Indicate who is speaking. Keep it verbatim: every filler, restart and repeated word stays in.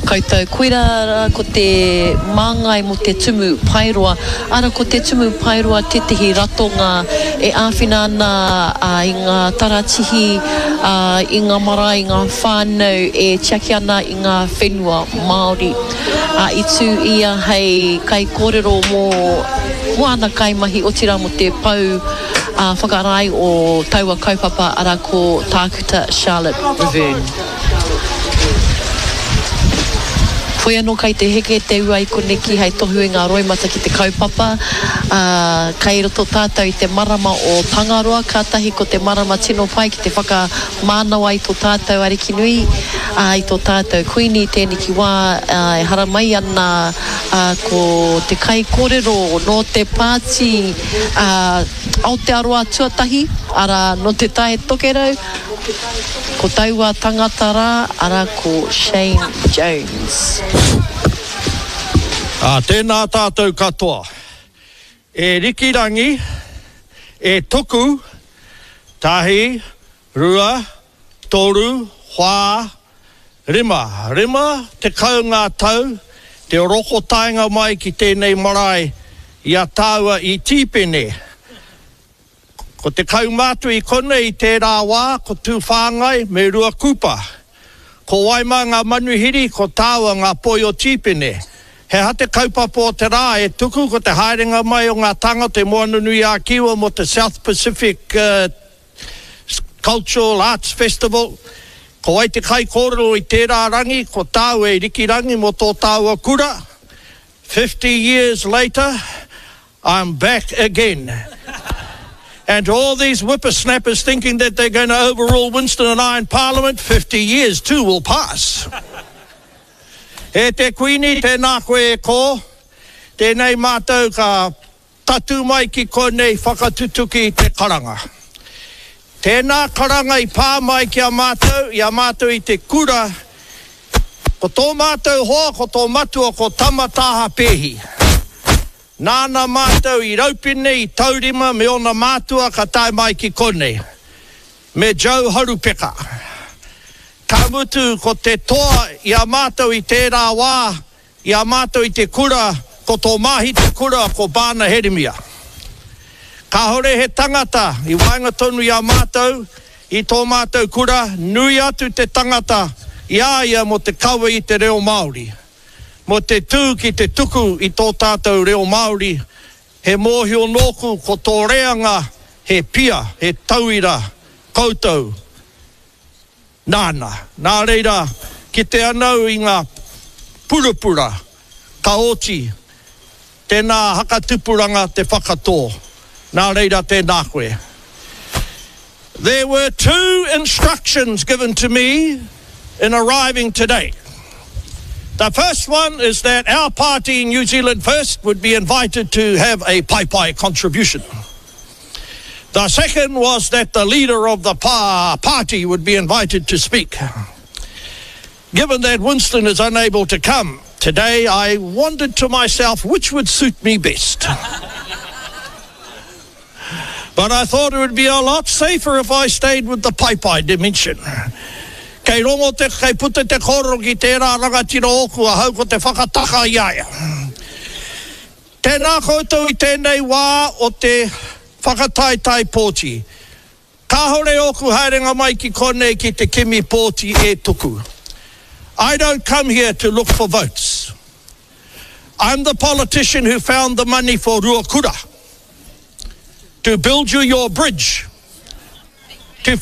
Speaker 1: Koutou. Koirā rā ko te māngai mō Te Tumu Paeroa. Ara ko Te Tumu Paeroa tētehi ratonga e āwhina ana i ngā taratihi, i ngā marae, i ngā whānau e tiaki ana i ngā whenua Māori. I tū ia hei kaikōrero mō mō āna kaimahi, otirā mō te pou whakarae o taua kaupapa, arā ko Tākuta Charlotte Riverne. Whoi anō kai te heke te ua i koneki hei tohu i ngā roimata ki te kaupapa, ā, kai roto tātou i te marama o Tangaroa, kātahi ko te marama tino pai ki te whakamānawa i tō tātou Arikinui, ā, i tō tātou Kuini i tēneki wā, ā, e haramai ana, ā, ko te kaikōrero nō te pāti, ā, Aotearoa tuatahi, arā, nō Te Tai Tokerau, Ko taua tangata rā, arā ko Shane Jones.
Speaker 2: Ā, tēnā tātou katoa. E Rikirangi, e Tuku, tahi, rua, toru, whā, rima. Rima tekau ngā tau te roko taenga mai ki tēnei marae i a tāua i Tīpene. Ko te kaumātua i konei i tērā wā ko Tūwhāngai me Ruakūpa. Ko wai mā ngā manuhiri, ko tāua ngā poi o Tīpene. He aha te kaupapa o te rā e tuku ko te haerenga mai o ngā tāngata i Moananui-a-Kiwa mō te South Pacific Cultural Arts Festival. Ko wai te kaikōrero i tērā rangi, ko tāua e Rikirangi mō tō tāua kura. Fifty years later, I'm back again. And to all these whippersnappers thinking that they're going to overrule Winston and I in Parliament, fifty years too will pass. E te Kuini, tēnā koe e kō, tēnei mātou ka tatū mai ki konei whakatutuki i te karanga. Tēnā karanga i pā mai ki a mātou, i a mātou i te kura, ko tō mātou hoa, ko tō matua, ko Tama Tāha Pēhi. Nāna mātou i raupine, i taurima me ōna mātua ka tae mai ki konei, me Joe Harupeka. Ka mutu ko te toa i a mātou i tērā wā, i a mātou i te kura, ko tō māhi te kura ko Bana Heremia. Kāore he tangata i waenga tonu i a mātou, i tō mātou kura, nui atu te tangata i a ia mō te kawe i te reo Māori. Mō te tū ki te tuku i tō tātou reo Māori, he mōhio nōku ko tō reanga he pia, he tauira koutou nāna. Nā reira, kite ana au i ngā purapura ka oti, tēnā hakatupuranga te whakatō. Nā reira tēnā koe. There were two instructions given to me in arriving today. The first one is that our party, New Zealand First, would be invited to have a paepae contribution. The second was that the leader of the pa party would be invited to speak. Given that Winston is unable to come today, I wondered to myself which would suit me best. But I thought it would be a lot safer if I stayed with the paepae dimension. Kei rongo te, kei puta te kōrero ki tērā rangatira ōku ahau ko te whakataka i a ia. Tēnā koutou i tēnei wā o te whakataetae pōti. Kāhore ōku haerenga mai ki konei ki te kimi pōti e tuku. I don't come here to look for votes. I'm the politician who found the money for Ruakura to build you your bridge.